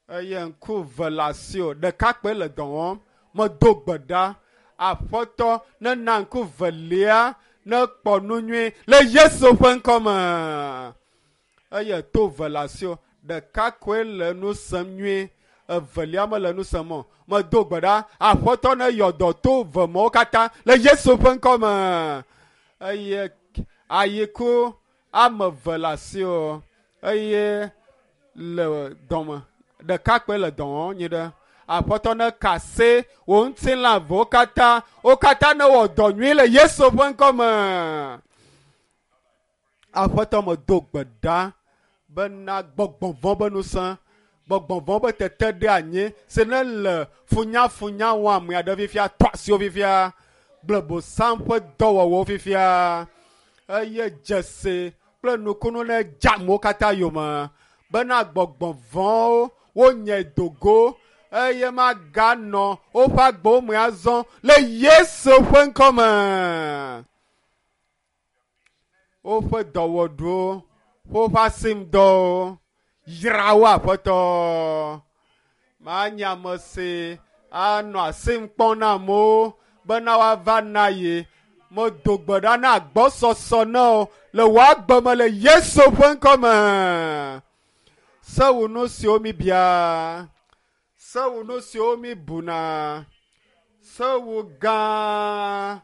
Eye ŋku ve le asiwò, ɖeka kpoe le dɔ wɔm. Medo gbe ɖa, Aƒetɔ nena ŋku velia nekpɔ nu nyui le Yesu ƒe ŋkɔ me. Eye to ve le asiwò, ɖeka koe le nu sem nyuie, evelia mele nu sem o. Medo gbe ɖa, Aƒetɔ neyɔ dɔ to ve mawo katã le Yesu ƒe ŋkɔ me. Eye ayiku ame eve le asiwò eye le dɔme ɖeka kpoe le dɔ wɔm nyi ɖe. Aƒetɔ neka asi wò ŋutilã vewo katã, wo katã newɔ dɔ nyui le Yesu ƒe ŋkɔ me. Aƒetɔ medo gbe ɖa bena gbɔgbɔ vɔ̃ be ŋusẽ, gbɔgbɔ vɔ̃ be tete ɖe anyi si ne le funyafunya wɔm ame aɖe fifia, tɔ asiwo fifia, gblẽ bosam ƒe dɔwɔwɔwo fifia eye dzesi kple nukunu ne dze amewo katã yome bena gbɔgbɔ vɔ̃wo wonye dogo eye maganɔ woƒe agbewo me azɔ le Yesu ƒe ŋkɔ me. Woƒe dɔwɔɖuwo, woƒe asimdɔwo, yra wo Aƒetɔ. Manye ame si anɔ asim kpɔm na amewo bena woava na ye. Medo gbe ɖa na agbɔsɔsɔ na wo le wò agbe me le Yesu ƒe ŋkɔ me. Sewu nu siwo mi bia, sewu nu siwo mi buna, sewu gã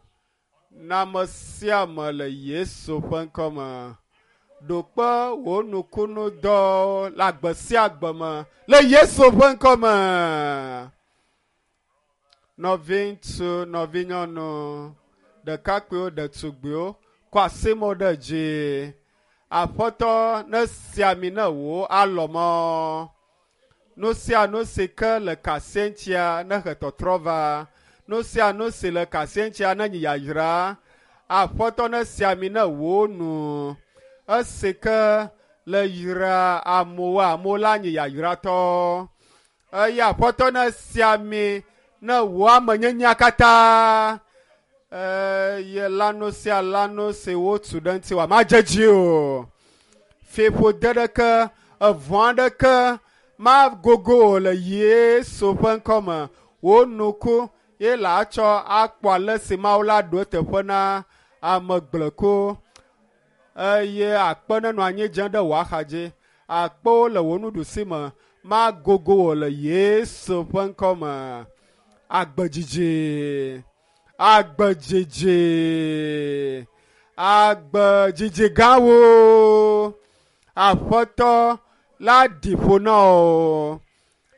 na ame sia ame le Yesu ƒe ŋkɔ me. Ɖo kpe wò nukunudɔ le agbe sia agbe me le Yesu ƒe ŋkɔ me. Nɔviŋutsu, nɔvinyɔnu, ɖekakpuiwo, ɖetugbiwo, kɔ asi mo ɖe dzi. Aƒetɔ nesia ami ne wò alɔmɔ. Nu sia nu si ke le kasia ŋutia nehe tɔtrɔ va. Nu sia nu si le kasia ŋutia nenyi yayra. Aƒetɔ nesia ami ne wò nu. Esi ke le yra amewo, amewo la nyi yayratɔ. Eye Aƒetɔ nesia ami ne wò amenyenyea katã. Eye lãnu sia lãnu si wotu ɖe ŋutiwòa madze edzi o. Fiƒode ɖeke, evɔ̃ aɖeke magogo wò le Yesu ƒe ŋkɔ me. Wò nuku ye le atsɔ akpɔ ale si Mawu la ɖo eteƒe na ame gblẽku eye akpe nenɔ anyi dze ɖe wò axadzi. Akpewo le wò nuɖusi me magogo wò le Yesu ƒe ŋkɔ me. Agbedzidzi, agbedzidzi, agbedzidzi gãwo. Aƒetɔ la ɖi ƒo na wò.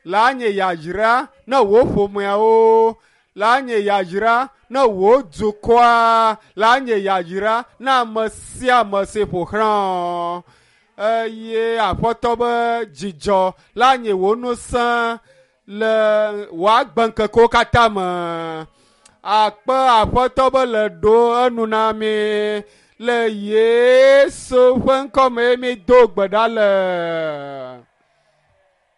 La nye yayra ne wò ƒomeawo. La nye yayra ne wò dukɔa. La nye yayra na ame sia ame si ƒo xlã wò. Eye Aƒetɔ be dzidzɔ la nye wò ŋusẽ le wò agbeŋkekewo katã me. Akpe Aƒetɔ be le ɖo enu na mi le Yesu ƒe ŋkɔ me mi do gbe ɖa le.